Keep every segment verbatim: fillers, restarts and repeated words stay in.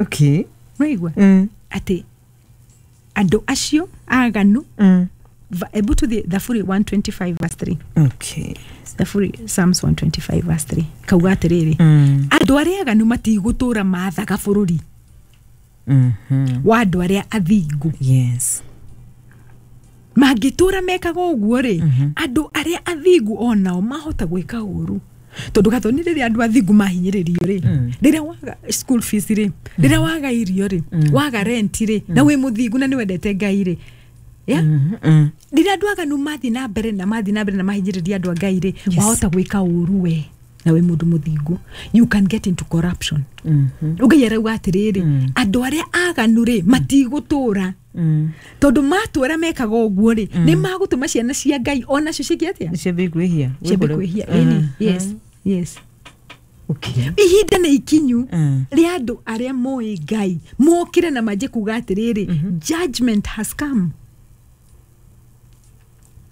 Okay. Nĩwaigua? Mm. Atĩ andũ acio aganu. Mm. Va- ebu tuthiĩ Thaburi one twenty-five verse three. Okay. Thaburi, Psalms one twenty-five verse three kauga atĩrĩrĩ, Mm. andũ arĩa aganu matigũtũra mathaga bũrũri Mhm. wa andũ arĩa athingu. Yes. Mangĩtũra mekaga ũguo rĩ, andũ arĩa athingu onao mahota gwĩka ũru, tondũ gathoni rĩrĩa andũ athingu mahinyĩrĩrio rĩ, rĩrĩa waga school fees rĩ, rĩrĩa waga irio rĩ, waga rent rĩ, na wĩ mũthingu na nĩ wendete Ngai rĩ, yeah? Mhm. Mm. Rĩrĩa andũ aganu mathiĩ na mbere na mathiĩ na mbere na mahinyĩrĩria andũ a Ngai rĩ, Yes. wahota gwĩka ũru we na wĩ mũndũ mũthingu, you can get into corruption. Mhm. Ngai arauga atĩrĩrĩ, andũ arĩa aganu rĩ matigũtũra, Mm. tondũ matũra mekaga ũguo rĩ, nĩ magũtũma ciana cia Ngai onacio ciĩke atĩa? Ciambie kwĩhia. Ciambie kwĩhia. Ĩni, yes yes Okay. Ihinda nĩ ikinyu Mm. rĩa andũ arĩa moĩ Ngai mokĩre na manjie kuga atĩrĩrĩ, judgment has come.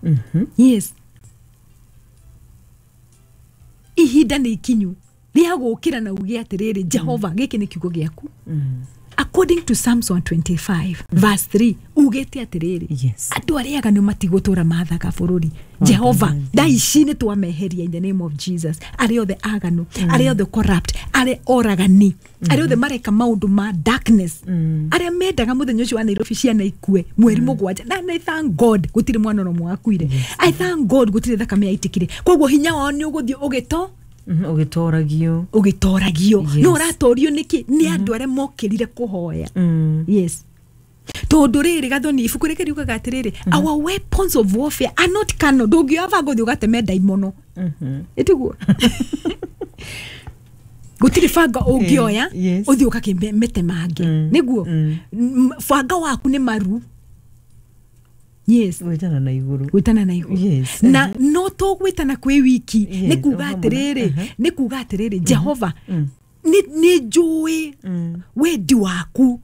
Mhm. Yes, ihinda nĩ ikinyu rĩa gũkĩra na uge atĩrĩrĩ, Jehova, gĩkĩ nĩ kiugo gĩaku. Mm. According to Psalms one twenty-five verse three, ugĩte atĩrĩrĩ, Yes. andũ arĩa aganu matigũtũra mathaga bũrũri. Jehova, thaa ici nĩ twameheria in the name of Jesus. Arĩa othe aganu, arĩa othe corrupt, arĩa oragani, arĩa othe mareka maũndũ ma darkness, arĩa mendaga mũthenya ũcio wa Nairobi ciana ikue mweri mũgwanja, na I thank God gũtirĩ mwana ona ũmwe wakuire. I thank God gũtirĩ thakame yaitĩkire. Koguo hinya wao nĩ ũgũthiĩ ũgĩto Mhm. Ũgĩtoragio. Ũgĩtoragio. Yes. No ũratorio nĩkĩ? Nĩ andũ arĩa mokĩrire kũhoya. Mm. Yes, tondũ rĩrĩ, gathoni, ibuku rĩkĩ riugaga atĩrĩrĩ, our weapons of warfare are not carnal. Ndũngĩoya banga ũthiĩ ũgateme ndaimono. Mhm. Ĩtiguo gũtirĩ banga ũngĩoya yes. ũthiĩ ũgakĩmete mangĩ. Mm, Nĩguo. mm. M- banga waku nĩ maru, yes. Gwĩtana na igũrũ. Gwĩtana na igũrũ. Yes. Na no to gwĩtana kwĩ wiki. Yes, Nĩ kuga o hamwe na- atĩrĩrĩ, Mhm. nĩ kuga atĩrĩrĩ, Jehova, Mm. nĩ nĩ njũĩ Mm. wendi waku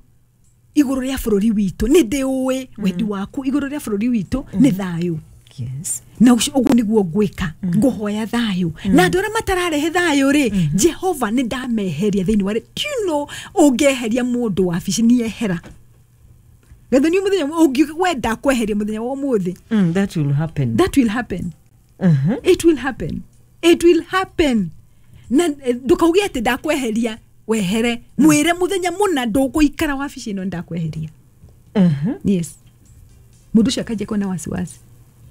igũrũ rĩa bũrũri witũ, nĩ ndĩũĩ wendi waku igũrũ rĩa bũrũri witũ nĩ thayũ. Yes. Na ũcio- ũguo nĩguo ngwĩka, ngũhoya thayũ, na andũ arĩa matararehe thayũ rĩ, Jehova, nĩ ndameheria thĩinĩ wa rĩ. Do you know ũngĩeheria mũndũ wabici nĩ ehera gathoni mũthenya ũngĩwenda kweheria mũthenya wa ũmũthĩ? Mm, that will happen. That will happen. Mhm. It will happen, it will happen. Na eh, ndũkauge atĩ ndakweheria wehere, mwĩre mũthenya mũna ndũgũikara wabici ĩno, ndakweheria. Mhm. Yes, mũndũ ũcio akanjia kuona wasiwasi,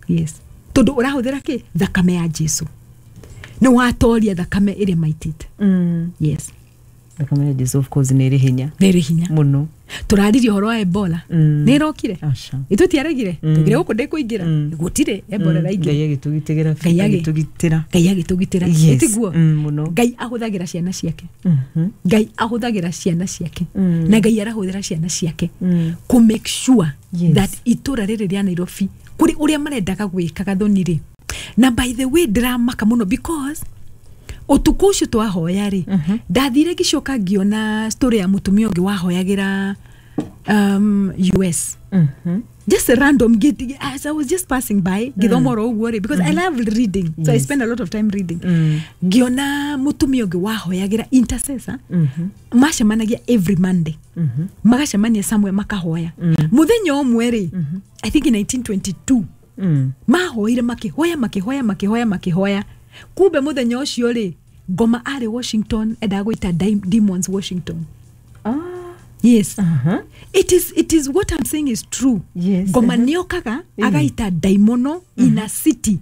yes, tondũ ũrahũthĩra kĩ? Thakame ya Jesu. Nĩ watoria thakame ĩrĩa maitĩte. Mm. Yes. Thakame ya Jesu, of course, nĩ ĩrĩ hinya. Nĩ ĩrĩ hinya. Mũno. Tũraririe ũhoro wa Ebola. Mm. Nĩ ĩrokire. Aca. Itũtiaregire. Mm. Tũgire gũkũ ndĩkũingĩra. Mm. Gũtirĩ Ebola Mm. ĩraingĩra. Ngai agĩtũgitĩra. Ngai agĩ- Agĩtũgitĩra. Ngai agĩtũgitĩra. Yes. Ĩtiguo? Mm, mũno. Ngai ahũthagĩra ciana ciake. Mhm. Ngai ahũthagĩra ciana ciake. Mm. Na Ngai arahũthĩra ciana ciake Mm. kũ make sure Yes. that itũra rĩrĩ rĩa Nairobi kũrĩ ũrĩa marendaga gwĩka gathoni rĩ. Na by the way, ndĩramaka mũno because ũtukũ ũcio twahoya rĩ, ndathire ngĩcoka ngĩona story ya mũtumia ũngĩ wahoyagĩra um, U S. Mhm. Just a random get, as I was just passing by ngĩthoma oro ũguo rĩ, because I love reading, so I Yes. spend a lot of time reading, Mm. ngĩona mũtumia ũngĩ wahoyagĩra, intercessor. Mhm. Macemanagia every Monday, Mhm. magacemania somewhere makahoya. Mũthenya ũmwe rĩ, I think in nineteen twenty-two, Mm. mahoire, makĩhoya, makĩhoya, makĩhoya, makĩhoya. Kumbe mũthenya ũcio rĩ, ngoma arĩ Washington, endaga gwĩta Dim- demons Washington. Ah. Yes. Uh-huh. it is, it is what I'm saying is true. Yes, Ngoma uh-huh. nĩokaga Mm. agaita ndaimono in a city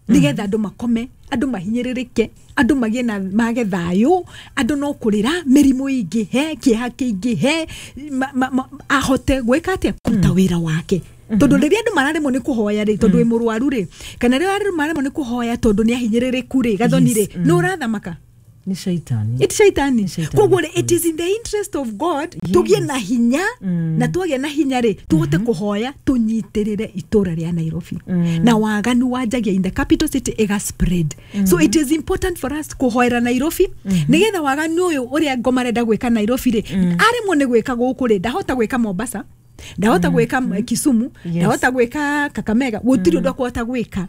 nĩgetha andũ makome, andũ mahinyĩrĩrĩke, andũ magĩe na mage thayũ, andũ no kũrĩra, mĩrimũ ĩingĩhe, kĩeha kĩingĩhe, ma- ma- ma- ahote gwĩka atĩa? Kũruta wĩra wake. Tondũ rĩrĩa andũ mararemwo nĩ kũhoya rĩ, tondũ wĩ mũrwaru rĩ, kana rĩrĩa andũ mararemwo nĩ kũhoya tondũ nĩ ahinyĩrĩrĩku rĩ, gathoni Yes, rĩ, nĩ ũrathamaka. Nĩ shaitani. It shaitani. Shaitani. Koguo rĩ, it is in the interest of God Yes. tũgĩe na hinya, Mm. na twagĩa na hinya rĩ, tũhote kũhoya tũnyitĩrĩre itũra rĩa Nairobi. Mm. Na waganu wanjagia in the capital city ĩga spread, so it is important for us kũhoera Nairobi nĩgetha waganu ũyũ ũrĩa ngoma arenda gwĩka Nairobi rĩ, aremwo nĩ gwĩka gũkũ rĩ, ndahota gwĩka Mombasa. Ndahota gwĩka Kisumu. Yes. Ndahota gwĩka Kakamega. Gũtirĩ ũndũ akũhota gwĩka,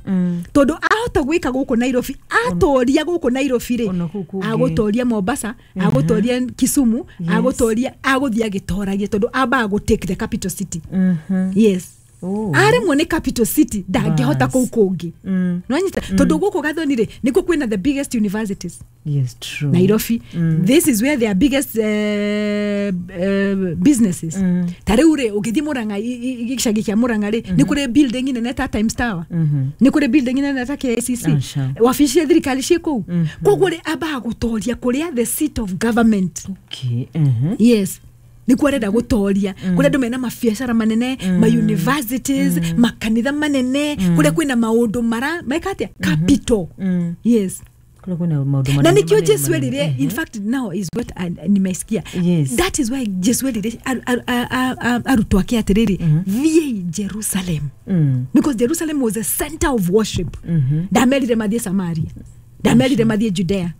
tondũ ahota gwĩka gũkũ Nairobi, atoria gũkũ Nairobi rĩ, Ona kũu kũngĩ. Agũtoria Mombasa, agũtoria Kisumu, Yes. agũtoria, agũthiĩ agĩtoragia, tondũ ambaga gũ take the capital city. Mhm. Yes. Oh. Aremwo nĩ capital city, ndangĩhota Bas. kũu kũngĩ. Mm. Nwanyita, tondũ gũkũ Gathoni rĩ, nĩkuo kwĩna the biggest universities. Yes, true. Nairobi, this is where their biggest uh, uh, businesses. Mm. Ta rĩu rĩ, ũngĩthiĩ Mũrang'a, i- i- gĩcagi kĩa Mũrang'a rĩ, nĩ kũrĩ building nene ta Times Tower, Mhm. nĩ kũrĩ building nene ta K I C C, Aca. wabici cia thirikari ciĩ kũu. Koguo rĩ, ambaga gũtoria kũrĩa the seat of government. Okay. Mhm. Yes, nĩkuo arenda gũtoria, kũrĩa andũ mena mabiacara manene, ma universities, makanitha manene, kũrĩa kwĩna maũndũ mara meka atĩa, capital. Mm. Yes. Kũrĩa kwĩna maũndũ Na manene, nikio manene, Jesu manene. erire, in fact now is what I- nimesikia, Yes. that is why Jesu erire aru- aru- a- a- a- arutwo ake atĩrĩrĩ, "Thiĩi Jerusalem," Mm. because Jerusalem was a center of worship. Mhm. Ndamerire mathiĩ Samaria, ndamerire mathiĩ Judea.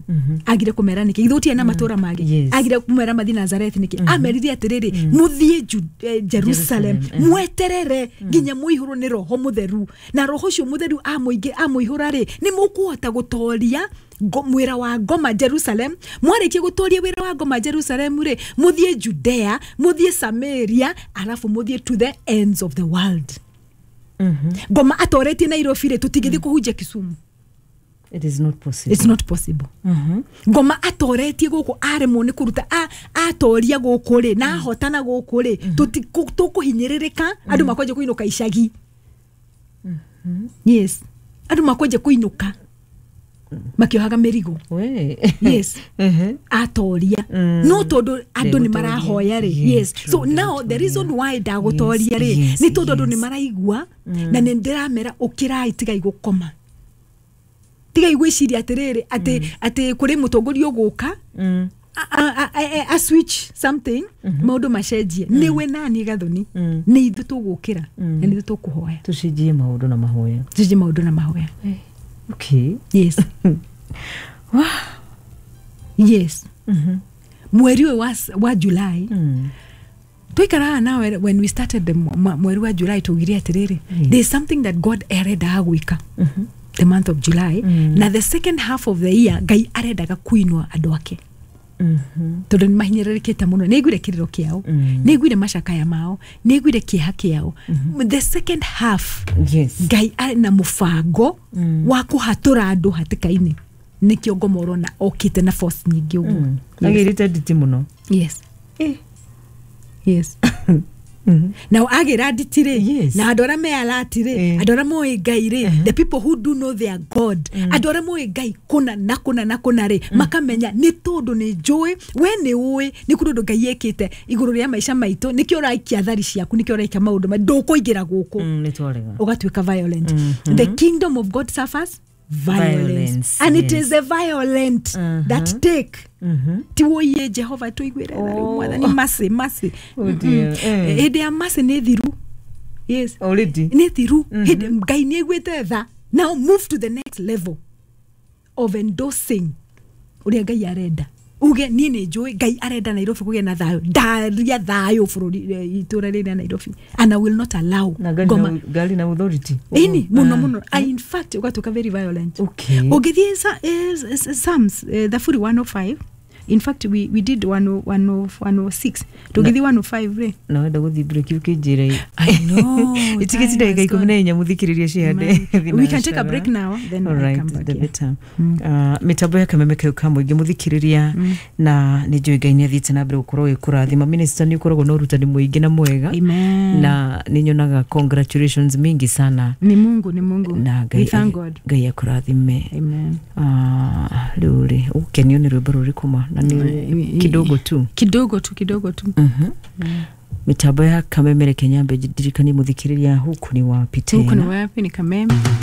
Agire kũmera nĩkĩ? Githĩ gũtirĩ na matũra mangĩ? Yes. Agire kũmera mathiĩ Nazareth nĩkĩ? Amerire atĩrĩrĩ, mũthiĩ Ju- eh, Jerusalem, Jerusalem, eh. mweterere nginya mũihũrwo nĩ Roho Mũtheru, na Roho ũcio Mũtheru amũingĩ amũihũra rĩ, nĩ mũkũhota gũtoria ngo- mwĩra wa ngoma Jerusalem. Mwarĩkia gũtoria wĩra wa ngoma Jerusalem rĩ, mũthiĩ Judea, mũthiĩ Samaria, alafu mũthiĩ to the ends of the world. Mhm. Ngoma atoretie Nairobi rĩ, tũtingĩthiĩ kũhunjia Kisumu. It is not possible. It's not possible. Mhm. Ngoma atoretie gũkũ, aremwo nĩ kũruta, a- atoria gũkũ rĩ, na ahotana gũkũ rĩ, tũti- kũ- tũkũhinyĩrĩrĩka, andũ makwanjia kũinũka icagi. Yes, andũ makwanjia kũinũka makĩohaga mĩrigo. We. Yes. Mhm. Atoria, Mm. no tondũ andũ nĩ Ndegũtoria. marahoya rĩ. Yes, Yes, true, so now the reason why ndagũtoria rĩ, Yes, nĩ tondũ andũ yes. nĩ maraigua na nĩ ndĩramera, ũkĩrai, tigai gũkoma, tigai gwĩciria atĩrĩrĩ, atĩ atĩ kũrĩ mũtongoria ũgũka Mm. a, a, a, a, a switch something, maũndũ macenjie. Nĩwe nani Gathoni? Mm. Nĩ ithuĩ tũgũkĩra na nĩ ithuĩ tũkũhoya. Tũcenjie maũndũ na mahoya. Tũcenjie maũndũ na mahoya. Okay. Yes. Yes. Mhm. Mweri ũyũ wa, wa July, Mm. twaikaraga nawe when we started the mw- mweri wa July, tugire atĩrĩrĩ, Yes. there is something that God arendaga gwĩka Mhm. the month of July Mm. na the second half of the year. Ngai arendaga kuinua andũ ake, Mhm. tondũ nĩ mahinyĩrĩrĩkĩte mũno. Nĩ aiguire kĩrĩro kĩao, Mm. nĩ aiguire macakaya mao, nĩ aiguire kĩeha kĩao. The second half, Yes. Ngai arĩ na mũbango Mm. wa kũhatũra andũ hatĩka-inĩ. Nĩkĩo ngoma ũrona okĩte na force nyingĩ ũguo. Mm. Yes. Agĩrĩte nditi mũno. Yes. Eh. Yes. Mhm. Nao agĩra nditi rĩ, Yes. na andũ arĩa me alert rĩ, Eh. andũ arĩa moĩ Ngai rĩ, the people who do know their God, andũ arĩa moĩ Ngai kũna na kũna na kũna rĩ, makamenya nĩ tondũ nĩ njũĩ we nĩ ũĩ nĩ kũrĩ ũndũ Ngai ekĩte igũrũ rĩa maica maitũ. Nĩkĩo ũraikia thari ciaku, nĩkĩo ũraikia maũndũ ma ndũkũingĩra gũkũ. Mm, nĩ twarega. Ũgatuĩka violent. Mhm. The kingdom of God suffers violence, Violence, and it yes. is the violent Mhm. that take. Mhm. Ti woiye Jehova tũiguĩre tha rĩu, Oh. Mwathani mercy, mercy. Oh dear. Eh. Hĩndĩ ya mercy nĩ thiru. Yes. Already. Nĩ thiru. Hĩndĩ Ngai nĩ aiguĩte tha, now move to the next level of endorsing ũrĩa Ngai arenda. Uge, niĩ nĩ njũĩ Ngai arenda Nairobi kũgĩe na thayũ, ndaria thayũ bũrũri, eh, itũra rĩrĩ rĩa Nairobi, and I will not allow Na ngari ngoma. na ngari na authority. Ĩni mũno Ah. mũno. I, in fact, ũgatuĩka very violent. Okay. Ũngĩthiĩ Sa- eh, S- Psalms, eh, thaburi one oh five, in fact we, we did one oh six, tũngĩthiĩ one oh five rĩ. Na wenda gũthiĩ break ũkĩnjĩra. I know, Itigĩti time ndagĩka has ikũmi gone. na inya mũthikĩrĩria cihande. We can take a break now, then All I right, come back the here. better. Uh, mĩtambo ya kameme kau ka mũingĩ, mũthikĩrĩria, na nĩ njũĩ Ngai nĩ athiĩte na mbere gũkorwo ĩkũrathima. Minister, nĩ ũkoragwo na ũrutani mũingĩ na mwega. Amen. Na nĩ nyonaga congratulations mingi sana. Ni Mungu, ni Mungu. Na We Ngai thank God. Ngai akũrathime. Amen. Ah, rĩu rĩ, ũgũkenio nĩ rwĩmbo rũrĩkũ ma na nĩ Eh, kidogo tu? Kidogo tu, kidogo tu. Mhm. Mitambo ya kameme, reke nyambe ndirikanie mũthikĩrĩria huku ni wapi Huku ni tena? wapi? Ni Kameme.